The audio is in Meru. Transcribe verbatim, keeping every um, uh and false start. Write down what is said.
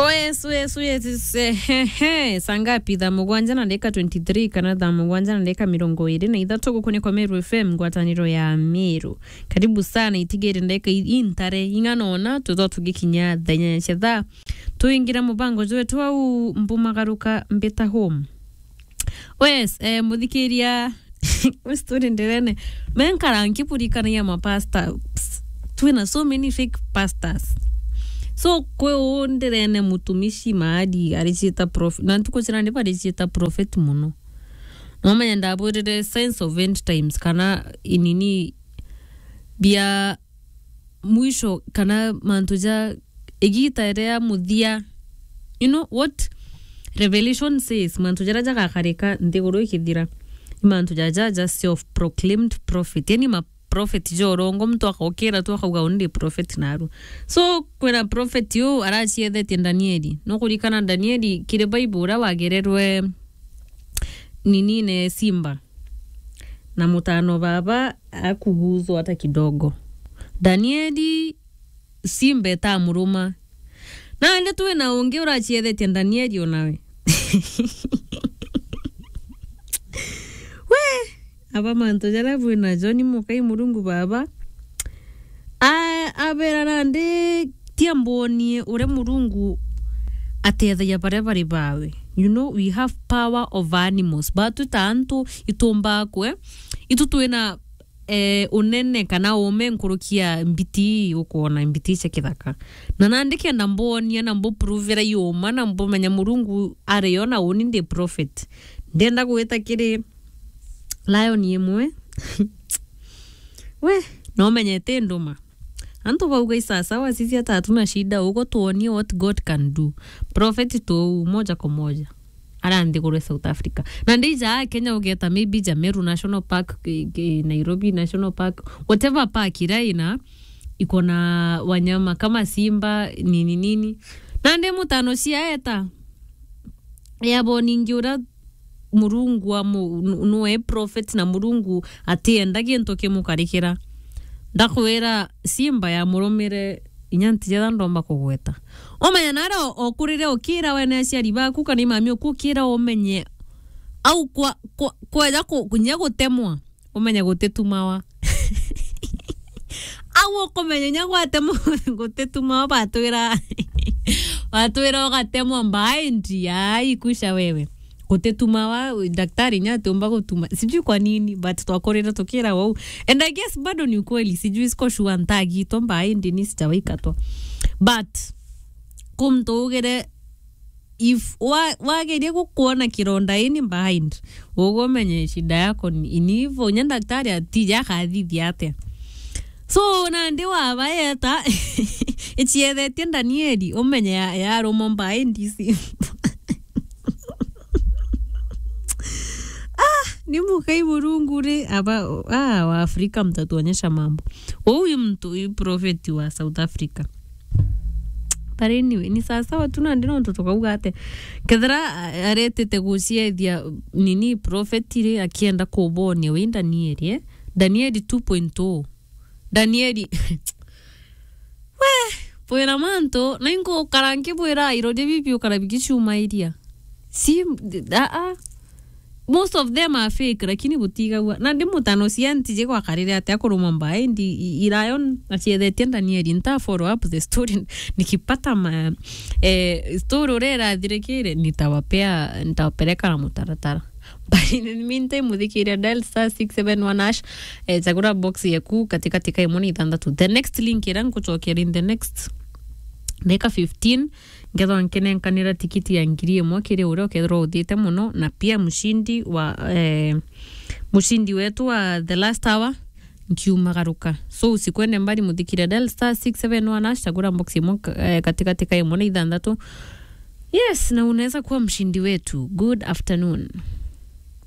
Oh, yes, oh, yes, oh, yes, yes, eh, he, he. Saa ngapi? Thaa mugwanja na ndagika twenty-three kana thaa mugwanja na ndagika mirongo iri na ithatu gukunikwa Meru F M, ngwataniro ya Meru. Karibu sana, itigiri ndagika i-, intare ing'ana ona, tutho tugikinya thaa inyanya cia thaa. Tuingira mubango jwetu au mbumagaruka mbita home. Wes, eh, muthikiria, we story ndirene. Menkara nkiburikanagia mapasta. Twina so many fake pastors. So, kwi uu ndirene mutumishi maadi ariciita prophet. Na ntuku cia nandi bariciita prophet muno. Nomenya ndabwirire signs of end times kana inini bia mwisho kana mantu ja igita ria muthia. You know what Revelation says? Mantu jaria jagakarika nthiguru ikithira, ni mantu jaja ja self proclaimed prophet, yani ma prophet ja urongo, muntu akokira tu akauga, "Uni ndi prophet naru." So, kwina prophet uu araciethetie Danieli. Nukurikana Danieli kiri Bible uria wagererwe ninine simba, na mutano baba akuguthwa hata kidogo. Danieli simba itamuruma. Nandi twina ungi uraciethetie Danieli onawe. We, aba mantu jaria bwina jo ni mukai Murungu baba. A-, abera nandi tia mbonie uria Murungu atethagia baria bari bawe. You know, we have power over animals. Batu ta antu itumbaa kwe, itu twina eh, unene kana uume nkuruki ya mbiti ii ukwona, mbiti cia kithaka. Na nandi kenda mbonia na mbuprovera iuma na mbumenya Murungu ari yo na uni ndi prophet. Ndenda gwita kiri lion imwe. We, nomenyete nduma. Antu bauga isasawa sisi hata hatuna shida, ugo tuonie what God can do. Prophet tu moja kwa moja. Ara nthiguru ya South Africa. Na ndija Kenya ugeta maybe ja Meru National Park, ki-, ki-, Nairobi National Park, whatever park iria ina, iko na wanyama kama simba, nini nini. Na ndi mutano ciaeta. Yabo ningi uria Murungu wa mu-, nu-, nuwe prophet na Murungu atienda gintu kimukarikira. Ndakwira simba ya murumire inya ntijetha ndomba kugweta. Umenya nare o-, okurire ukira wene aciari baku kana imami uku ukira umenye au kwa, kwa, kweja ku-, kunya gutemwa, umenye gutitumawa. Au ukumenya inya gwatemwa gutitumawa, batwira, batwira ugatemwa mbaindi, ai, kusha wewe. Gutitumawa, daktari inya atiumba gutuma. Sijui kwa nini, but twakurire tukira wau. And I guess bado ni ukweli, sijui siko sure ntagitwa mbaindi ni sijawaikatwa. But, kumtu ugire, if wa-, wageria gukwona kironda ini behind, uguo umenye shida yako ni, ni hivyo, nya daktari atija akathithia atia. So, nandi wabaeta, iciethetie Danieli, umenye ya-, yarumwa behind simba. Ah, ni mukai Murungu ri, aba, ah, wa Afrika mtatuonyesha mambo. Huyu mtu, huyu prophet wa South Africa. But anyway, ni sawasawa tu nandi nontu tukauga ate. Kethira a-, aretete guciethia nini prophet ri akienda kubonia wi Danieli, eh? Danieli two point oh. Danieli. We, bwira mantu, na inkukara nkibwira iroria bibi ukara bigicumairia. Si, a, a. Most of them are fake, lakini butigagua. Na ndi mutano cia ntiji gwakarire atia kurumwa mbaindi, i-, i-, Lion aciethetie Danieli. Nta follow up the story. Nikipata ma, eh, story uria irathirikire, nitawapea, nitawapeleka na mutaratara. But in the meantime, muthikiria dial star six seven one hash, eh, chagura box yeku katikati ka imwe na ithanthatu. The next link ira nkuchokera in the next ndagika fifteen, ngethwa nkinenkanira tikiti ya ngiri imwe kiri uria ukethirwa uthite muno, na pia mshindi wa, eh, mshindi wetu wa the last hour nkiumagaruka. So, usikwende mbali, muthikire, dial star six seven one hash, chagura box imwe ka-, eh, katikati ka imwe na ithanthatu. Yes, na unaweza kuwa mshindi wetu. Good afternoon.